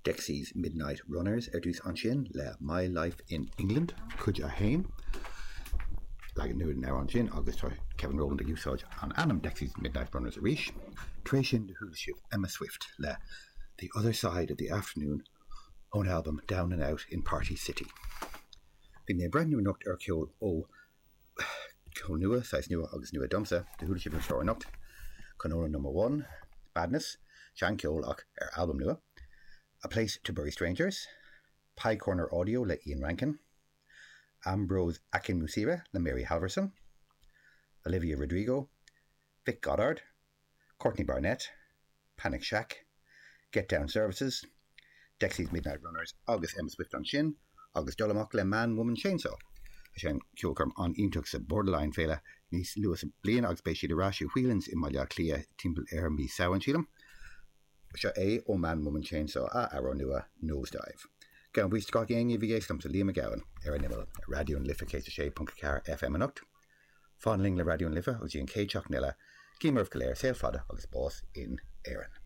Dexys Midnight Runners ar dtús ansin le My Life in England, Cuid 1. Leagan nua den amhrán sin agus tá Kevin Rowland ag úsáid an ainm Dexys Midnight Runners arís. Tar éis sin do chuala sibh Emma Swift le The Other Side of the Afternoon ón albam Down and Out in Party City. Bhí mé ag breathnú anocht ar cheol ó ceol nua, saghas nua agus nua domsa, do chuala sibh an chlár anocht, Cronulla Number One, Madness, seancheol ach ar albam nua, A Place to Bury Strangers, Pie Corner Audio le Ian Rankin, Ambrose Akinmusire le Mary Halvorson, Olivia Rodrigo, Vic Godard, Courtney Barnett, Panic Shack, Get Down Services, Dexys Midnight Runners agus Emma Swift ansin agus dul amach le Man Woman Chainsaw a sheinn ceolchoirm an-iontach sa Borderline Féile níos luaithe sa bliain agus beidh siad ar ais i Whelan's i mBaile Átha Cliath timpeall ar mí Samhain, sílim. Seo é ó Man Woman Chainsaw a amhrán nua Nosedive. Gabhaim buíochas de gach éinne a bhí ag éisteacht liomsa, Liam Mac Gabhann, ar an Imeall ar Raidió na Life 106.4 FM anocht. Fan linn le Raidió na Life agus go dtí an chéad seachtain eile, guím oraibh go léir saol fada agus bás in Éirinn.